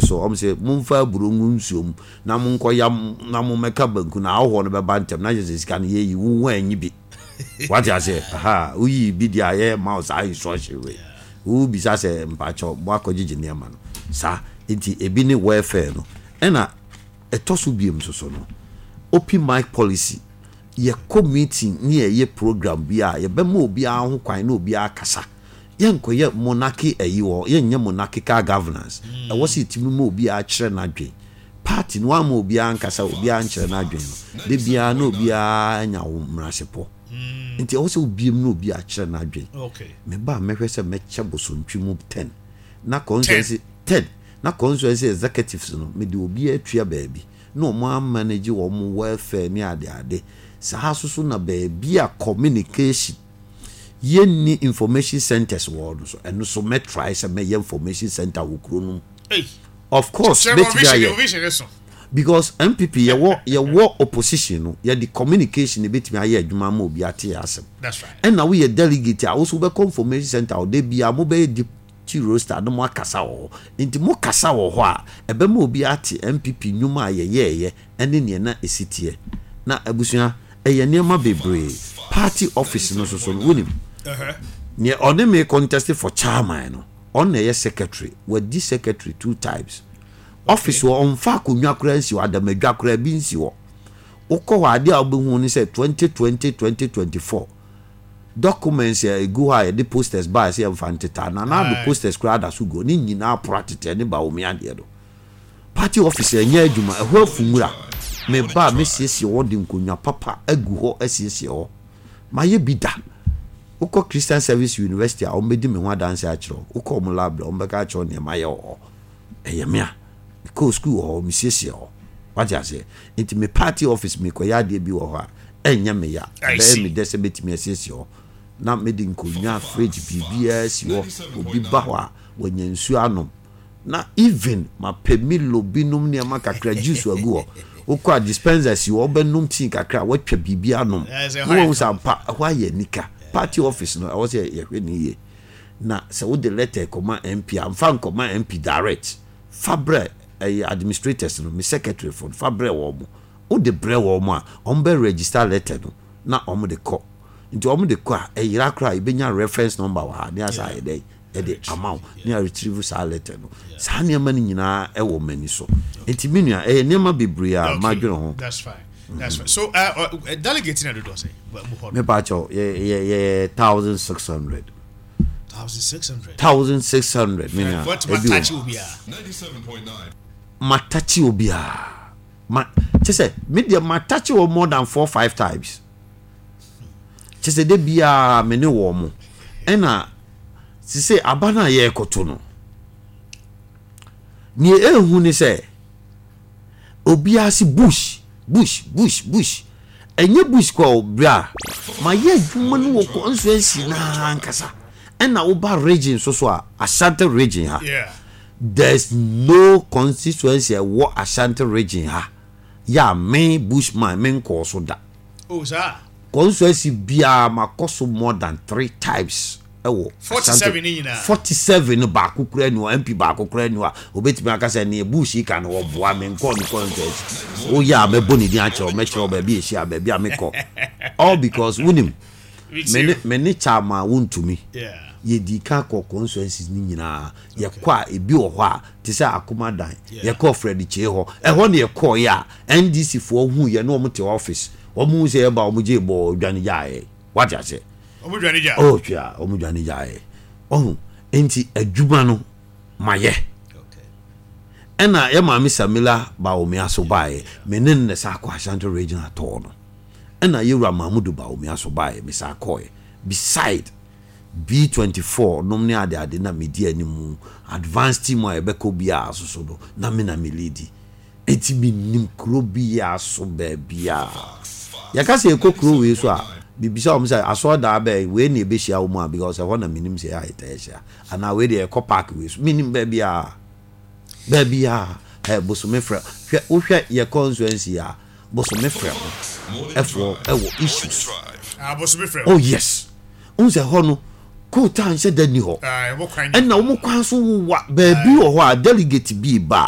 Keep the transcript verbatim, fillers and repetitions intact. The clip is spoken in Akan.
So ɔmo sɛ momfa aburo ngu nsuo mu na monkɔ yam na mommɛka banku na ahɔhoɔ no bɛba ntɛm na kyerɛ sɛ sika no yɛyi wo ho anyi bi. Wate aseɛ? Aha, woyi bi deɛ a yɛ ma wo saa instruction wei. Wobisa sɛ mpakyɛw mo akɔgyegye nneɛma no saa. Nti ebi ne welfare no. Ɛna ɛtɔ so biem nso so no, open mic policy. Yɛkɔ meeting ne yɛyɛ program bi a, yɛbɛma obiara ho kwan na obiara kasa. Yɛnkɔyɛ monarchy ayi wɔ, yɛnyɛ monarchical governance. Ɛwɔ sɛ yɛtumi ma obiara kyerɛ n'adwen. Party no wamma obiara nkasa, obiara nkyerɛ n'adwen no, da biara na obiara anya wo mmerasepɔ. Nti ɛwɔ sɛ wobiem na obiara kyerɛ n'adwen. Meba a mɛhwɛ sɛ mɛkyɛ bosontwe mu ten na constituency ten na constituency executives no mede obiara atua baabi na wɔn amanage wɔn welfare ne ade ade. Saa nso so na baabi a communication yɛnni information centers wɔ no so, ɛno so mɛ try sɛ mɛyɛ information center wɔ kuro no mu. Of course mɛtumi ayɛ because N P P yɛwɔ yɛwɔ opposition no, yɛde communication ebɛtumi ayɛ adwuma ama obi ate yɛ asɛm. Ɛna woyɛ delegate a, woso wobɛkɔ information center ɔde bia mobɛyɛ deputy roster na mo akasa wɔ hɔ. Nti mo kasa wɔ hɔ a, ɛbɛma obi ate N P P nnwuma a yɛyɛɛyɛ ɛne nea na esi teɛ. Na abusua, ɛyɛ nneɛma bebree. Party office no soso no, wonim nea ɔne me contest for chairman no, ɔno na ɛyɛ secretary. Wadi secretary two times. Office wɔ, ɔmfa akonnwa koraa nsi hɔ, adamadwa koraa bi nsi hɔ. Wokɔ hɔ, adeɛ a wobɛhu ne sɛ twenty twenty twenty twenty-four documents a ɛgu hɔ a yɛde posters baa sɛ yɛmfa nteta na na ado posters koraa da so gu hɔ ne nyinaa pora tetɛ ne ba omi adeɛ do. Party office ɛnyɛ adwuma, ɛhɔ afu nwura. Meba a, mesiesie hɔ de nkonnwa papa agu hɔ, asiesie hɔ. Mayɛ bi da. Wokɔ Christian Service University a, wɔbɛdi me ho adanse akyerɛ wo. Wokɔ ɔmo library, wɔbɛka akyerɛ wo nneɛma yɛ wɔ hɔ. Ɛyɛ me a mekɔɔ school wɔ hɔ, mesiesie hɔ. Wate aseɛ? Nti me party office, mekɔyɛ adeɛ bi wɔ hɔ a, ɛnyɛ me ya. Ɛbɛyɛ me dɛ sɛ mɛtumi asiesie hɔ na mede nkonnwa, fridge, biribiara si hɔ. Obi ba hɔ a, wanya nsuo anom. Na even mapɛ Milo binom, nneɛma kakra, juice agu hɔ. Wokɔ a, dispenser si hɔ, wobɛnom tea kakra a, woatwa biribi anom na wahu sɛ ampa ɛhɔ ayɛ nika. Party office no, ɛwɔ sɛ yɛhwɛ ne yie. Na sɛ wode letter kɔma M P a, mfa nkɔma M P direct. Fa brɛ ɛyɛ administrators no, me secretary fo no, fa brɛ wɔn mo. Wode brɛ wɔn mo a, wɔn bɛ register letter no na wɔn de kɔ. Nti wɔn de kɔ a, ɛyera koraa, yɛbɛnya reference number wɔ ha ne asa ayɛ dɛ ɛde ama wo ne a retrieve saa letter no. Saa nneɛma no nyinaa ɛwɔ m'ani so. Nti me nua, ɛyɛ nneɛma bebree a madwene ho. That's fine. That's fine. So, uh, uh, delegate na dodo say. Mepa kyɛw, yɛ yɛ yɛ thousand six hundred. Thousand six hundred. Thousand six hundred, me nua. What ebi wɔ touch obiara? Matakye obiara ma kyɛ sɛ me deɛ matakye wɔ more than four five times. Kyɛ sɛ de biara me ne wɔn mo. Ɛna sise aba no a yɛrekɔto no, nea ehu ne sɛ obiara si Bush, Bush, Bush, Bush. Ɛnyɛ Bush kɔ o. Bra mayɛ adwuma no wɔ constituency naa nkasa. Ɛna woba region so so a, Ashanti Region ha, Yeah. there's no constituency ɛwɔ Ashanti Region ha yɛ a me Bushman me nkɔɔ so da. Oh, sir. Constituency biara makɔ so more than three times ɛwɔ. forty-seven ne nyinaa. Forty seven no, baako kura ni hɔ, M P baako kura ni hɔ a obetumi aka sɛ neɛ Bush yi ka no wɔboa me nkɔɔ ne constituency. Woyɛ a, mɛbɔ ne din akyerɛw, mɛkyerɛw baabi ehyia, baabi a mekɔ, all because wonim me ne me ne chairman Wontumi Yeah. yɛdi ka kɔ constituencies ne nyinaa. Yɛkɔ a, ebi wɔ hɔ a te sɛ Akomadan, yɛkɔ Fred Kyee hɔ. Ɛhɔ ne yɛkɔɔ yɛ a N D C foɔ hu yɛ ne wɔn te office, wɔn hu sɛ yɛba, wɔn gye bɔɔ dwane gyaeɛ. Wate aseɛ? Ɔmo dwane gya. Oh, twea wɔn dwane gyaeɛ. Ɔho nti adwuma no mayɛ. Okay. Ɛna yɛ maame Samila Bawumia so baeɛ, me ne no na sa akɔ Ashanti Regional tɔɔ no. Ɛna yɛwura Mahmudu Bawumia so baeɛ, me sa akɔɛ. Beside B twenty-four nom ne ade ade na medi anim, advance team a yɛbɛkɔ biara so so no, na me na me lead. Eti menim kuro biara so. Baabiara yɛka sɛ yɛkɔ kuro wei so a, bibisa wɔn sɛ asɔɔdaa bɛɛ wei na yɛbɛhyia wɔn a, because ɛhɔ na menim sɛ yɛ a yɛtaa hyia, anaa wei deɛ yɛkɔ park wei so. Menim baabiara, baabiara. Ɛ bosome frɛ, hwɛ, wohwɛ yɛ constituency a, bosome frɛ ho ɛfoɔ ɛwɔ issues. Ah, bosome frɛ. Oh yes, n sɛ hɔ no Coal tar nhyɛ da ni hɔ. Ah, ɛwɔ kwan. Ɛna wɔn kwan so wowa baabi wɔ hɔ a delegate bi ba